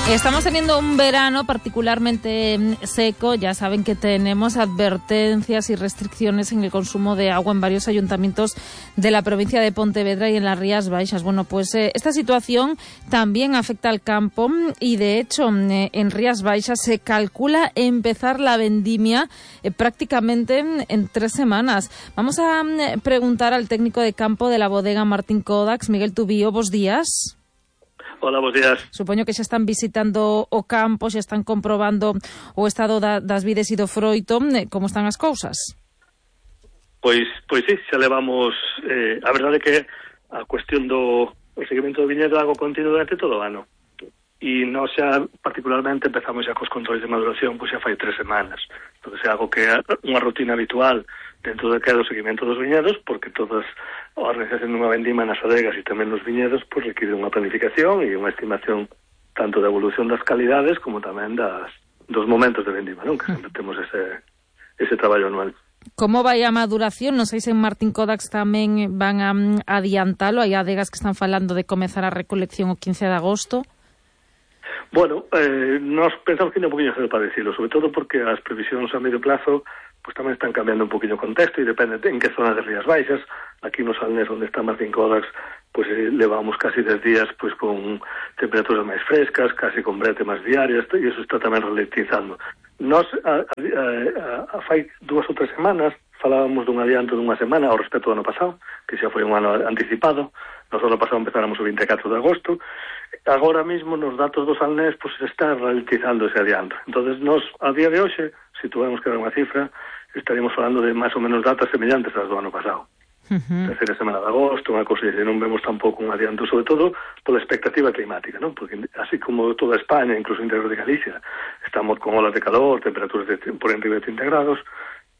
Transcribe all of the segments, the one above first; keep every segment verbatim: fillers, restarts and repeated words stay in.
Estamos teniendo un verano particularmente seco. Ya saben que tenemos advertencias y restricciones en el consumo de agua en varios ayuntamientos de la provincia de Pontevedra y en las Rías Baixas. Bueno, pues eh, esta situación también afecta al campo y, de hecho, eh, en Rías Baixas se calcula empezar la vendimia eh, prácticamente en, en tres semanas. Vamos a eh, preguntar al técnico de campo de la bodega Martín Codax, Miguel Tubío. Bos días. Hola, bos días. Supoño que xa están visitando o campo, xa están comprobando o estado da, das vides e do froito. Como están as cousas? Pois, pois sí, xa levamos... Eh, a verdade é que a cuestión do o seguimento do viñedo é algo continuo durante todo o ano. E nós xa, particularmente, empezamos xa cos controles de maduración, pois xa fai tres semanas. Entón, é algo que é unha rutina habitual dentro do que é o seguimento dos viñedos, porque todas a organización dunha vendima nas adegas e tamén nos viñedos pois require unha planificación e unha estimación tanto da evolución das calidades como tamén das, dos momentos de vendima, non? Que sempre temos ese, ese traballo anual. Como vai a maduración? Non sei se en Martín Codax tamén van a adiantalo. Hai adegas que están falando de comezar a recolección o quince de agosto. Bueno, eh, nos pensamos que ainda un poquinho cedo para decirlo, sobre todo porque as previsións a medio plazo pues tamén están cambiando un poquinho o contexto e depende de en que zona de Rías Baixas. Aquí no Salnés, onde está Martín Codax, pues eh, levamos casi dez días pues con temperaturas máis frescas, casi con brete máis diarias, e iso está tamén ralentizando. Nos, a, a, a, a fai dúas ou tres semanas, falábamos dun adianto dunha semana ao respecto do ano pasado, que xa foi un ano anticipado. Nos ano pasado empezáramos o vinte e catro de agosto. Agora mesmo nos datos do Salnés pues está ralentizando ese adianto. Entonces nos, a día de hoxe, se tuviéramos que dar unha cifra, estaríamos falando de máis ou menos datas semellantes ás do ano pasado. Uh-huh. Terceira semana de agosto, unha cousa así, non vemos tampouco un adianto, sobre todo pola expectativa climática, non? Porque así como toda España, incluso o interior de Galicia, estamos con olas de calor, temperaturas de, por enriba de trinta grados.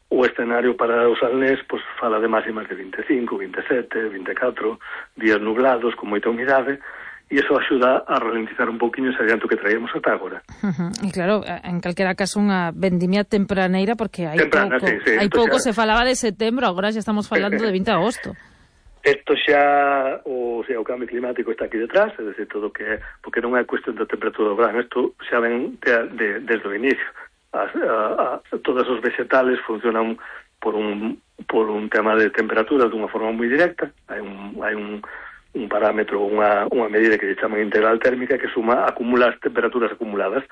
O escenario para os Salnés pues, fala de máximas de vinte e cinco, vinte e sete, vinte e catro, días nublados, con moita humidade, e iso axuda a ralentizar un pouquinho ese adianto que traíamos ata agora. Uh-huh. E claro, en calquera caso unha vendimia tempraneira, porque hai Temprana, pouco, sí, sí, hai pouco xa... se falaba de setembro, agora xa estamos falando de vinte de agosto. Isto xa, o, sea, o cambio climático está aquí detrás, é dicir, todo que é, porque non é cuestión da temperatura do verán, isto xa ven de, de, desde o inicio. As, a, a, todos os vegetales funcionan por un, por un tema de temperatura dunha forma moi directa, hai un... Hai un un parámetro, unha, unha medida que lle chaman integral térmica que suma acumula as temperaturas acumuladas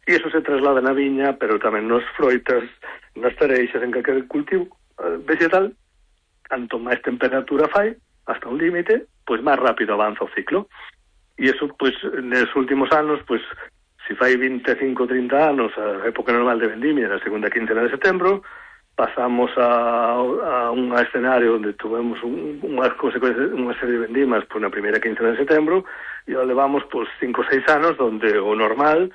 e iso se traslada na viña, pero tamén nos froitas, nas tareixas, en calquer cultivo vegetal. Canto máis temperatura fai, hasta un límite, pois máis rápido avanza o ciclo. E iso, pois, nos últimos anos, pois, se fai vinte e cinco, trinta anos, a época normal de vendimia, na segunda quincena de setembro, pasamos a, a un escenario onde tuvemos un, unha, unha serie de vendimas por na primeira quincena de setembro e o levamos por cinco ou seis anos onde o normal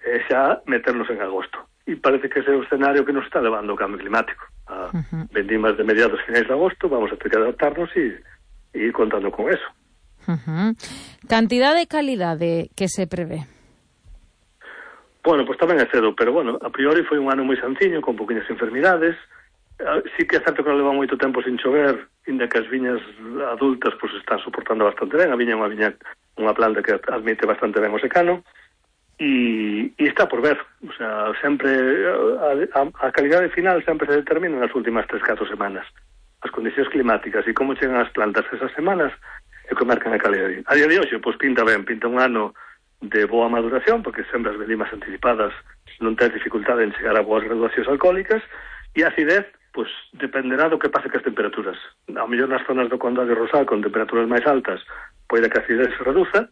é xa meternos en agosto. E parece que ese é o escenario que nos está levando o cambio climático. A uh-huh. vendimas de mediados finais de agosto, vamos a ter que adaptarnos e, e ir contando con eso. Uh-huh. Cantidade e calidade que se prevé? Bueno, pois tamén é cedo, pero bueno, a priori foi un ano moi senciño, con poquinhas enfermidades. Sí que é certo que leva moito tempo sin chover, inda que as viñas adultas pois están soportando bastante ben. A viña é unha viña, unha planta que admite bastante ben o secano, e, e está por ver. O sea, sempre a, a, a calidade final sempre se determina nas últimas tres, catro semanas. As condicións climáticas e como chegan as plantas esas semanas é que marcan a calidade. A día de hoxe, pois pinta ben, pinta un ano de boa maduración, porque sempre as vendimas anticipadas non ten dificultade en chegar a boas graduacións alcohólicas, e a acidez, pois, dependerá do que pase cas temperaturas. Ao mellor nas zonas do Condado de Rosal, con temperaturas máis altas, poida que a acidez se reduza,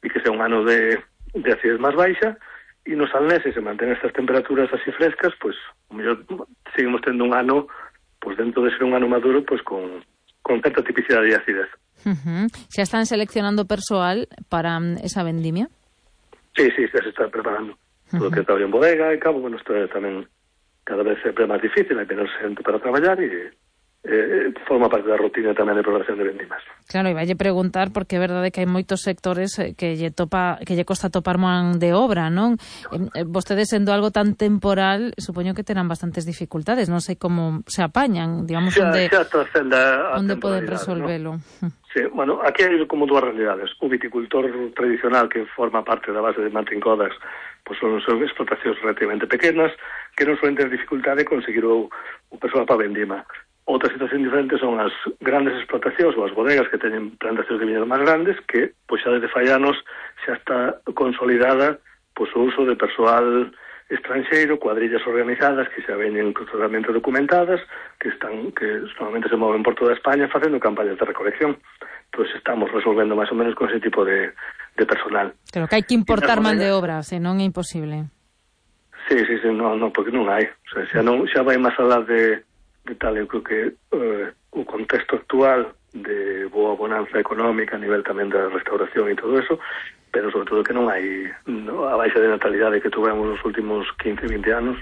e que sea un ano de, de acidez máis baixa, e nos Salnés, se mantén estas temperaturas así frescas, pois, ao mellor seguimos tendo un ano, pois, dentro de ser un ano maduro, pois, con, con certa tipicidade de acidez. Uh-huh. ¿Se están seleccionando persoal para um, esa vendimia? Sí, sí, xa se está preparando. Uh-huh. Todo o que está en bodega e cabo, bueno, isto é tamén cada vez sempre máis difícil, hai menos xente para traballar e, eh, forma parte da rutina tamén de programación de vendimas. Claro, e valle preguntar porque é verdade que hai moitos sectores que lle topa que lle costa topar man de obra, non? Eh, vostedes sendo algo tan temporal, supoño que terán bastantes dificultades, non sei como se apañan, digamos, xa, onde xa a onde poden resolvelo. ¿no? Sí, bueno, aquí hai como dúas realidades. O viticultor tradicional que forma parte da base de Martin Kodaks, pois son, son explotacións relativamente pequenas que non suelen ter dificultade de conseguir o, o persoal para vendima. Outra situación diferente son as grandes explotacións ou as bodegas que teñen plantacións de viñedo máis grandes que, pois xa desde fai anos, xa está consolidada pois, o uso de persoal estranxeiro, cuadrillas organizadas que xa veñen totalmente documentadas, que están que normalmente se moven por toda España facendo campañas de recolección. Entón estamos resolvendo máis ou menos con ese tipo de, de personal. Claro que hai que importar man de obra, senón é imposible. Sí, sí, sí, non, non, porque non hai. O sea, xa, non, xa vai máis alá de de tal, eu creo que uh, o contexto actual de boa bonanza económica a nivel tamén da restauración e todo eso, pero sobre todo que non hai no, a baixa de natalidade que tuvemos nos últimos quince, vinte anos,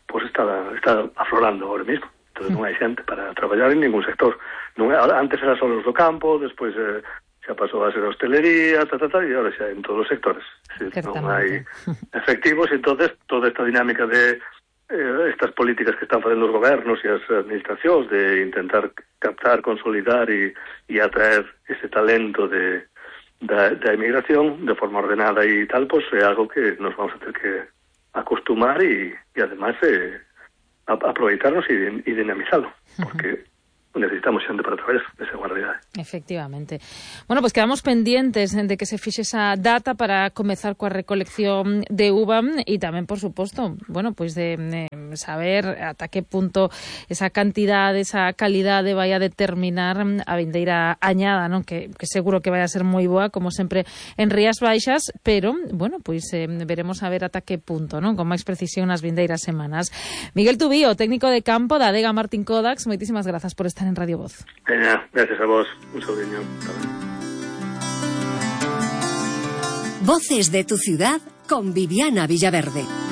pois pues está, está aflorando ahora mesmo. Entón non hai xente para traballar en ningún sector. Non, antes era só os do campo, despois eh, xa pasou a ser a hostelería, ta, ta, ta, e agora xa en todos os sectores. Si, non hai efectivos, entonces toda esta dinámica de Eh, estas políticas que están facendo os gobernos e as administracións de intentar captar, consolidar e, e atraer ese talento de, da, da emigración de forma ordenada e tal, pues é algo que nos vamos a ter que acostumar e, e además eh, a, aproveitarnos e, e dinamizalo, porque necesitamos xente para traballar, esa é unha realidade. Efectivamente. Bueno, pues quedamos pendientes de que se fixe esa data para comezar coa recolección de uva e tamén, por suposto, bueno, pues de, de saber ata que punto esa cantidade, esa calidade vai a determinar a vindeira añada, non? Que, que seguro que vai a ser moi boa, como sempre en Rías Baixas, pero, bueno, pues eh, veremos a ver ata que punto, non? Con máis precisión nas vindeiras semanas. Miguel Tubío, técnico de campo da adega Martin Kodaks, moitísimas grazas por estar en Radio Voz. Veña, gracias a vos. Un saludiño. Voces de tu ciudad con Viviana Villaverde.